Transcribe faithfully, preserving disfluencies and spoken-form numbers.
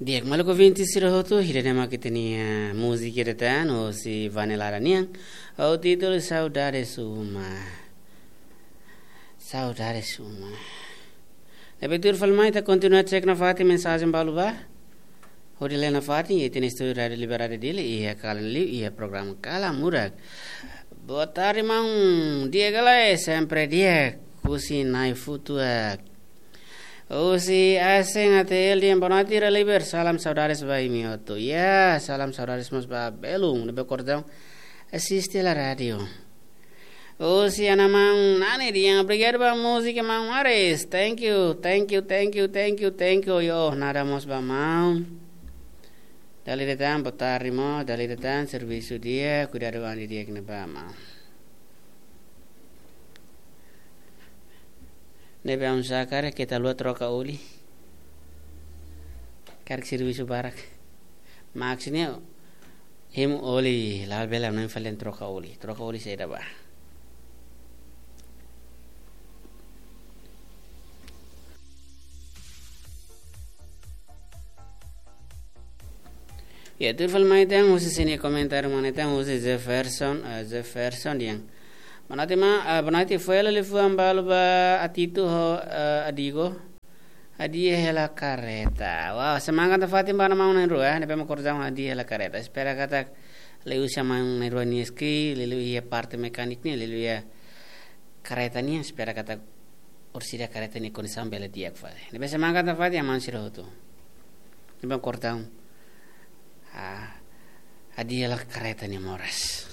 Di'ak, maluk ouvinte sira hotu, ida-ne'e mak ita-nia múzika ida tan, hosi Vanelada nian, ho títulu Saudades Uma. Saudades Uma. Ne'ebé tuir fali mai ita kontinua cek nafatin mensajen balu ba. Hodi lee nafatin iha ita-nia estúdiu Rádiu Liberdade Dili, iha kalan liu, iha programa Kala Murak. Boa tarde, maun. Di'ak ka lae, sempre di'ak. Husi Na'i Futuak. Husi Aseng A T L dehan boa noite, Ira Liber, salam saudades ba imi hotu. Ya, salam saudades mós ba belun, ne'ebé kordon asiste hela rádiu. Husi Ana Maun Nani dehan obrigadu ba múzika Maun Ares. Thank you, thank you, thank you, thank you, thank you. Yo, nada mós ba maun. Dala ida tan, boa tarde mós, dala ida tan, servisu di'ak, kuidadu an di'ak ne'ebá maun. Ne'ebé aun sá karik keta haluha troka oli. Karik servisu barak. Maksudnya, hemu oli, la bele aun falen troka oli. Troka oli saida bá. Ya, tuir fali mai tan, husi sini komentáriu mana tan, husi Jefferson, eh, Jefferson dehan. Boa noite, ma, eh, boa noite, foin hela liafuan balu ba Atitu ho, eh, Adigo. Hadi'a hela kareta. Wow, semangat nafatin ba maun na'in-rua, eh, ne'ebé mak kordon hadi'a hela kareta. Espera katak liuhusi maun na'in-rua nia skill, liuliu iha parte mekanik nian, liuliu iha kareta nian, espera katak orsida kareta nia kondisaun bele di'ak fali. Ne'ebé semangat nafatin ba maun sira hotu. Ne'ebé kordon. Ah, hadi'a hela kareta nia moras.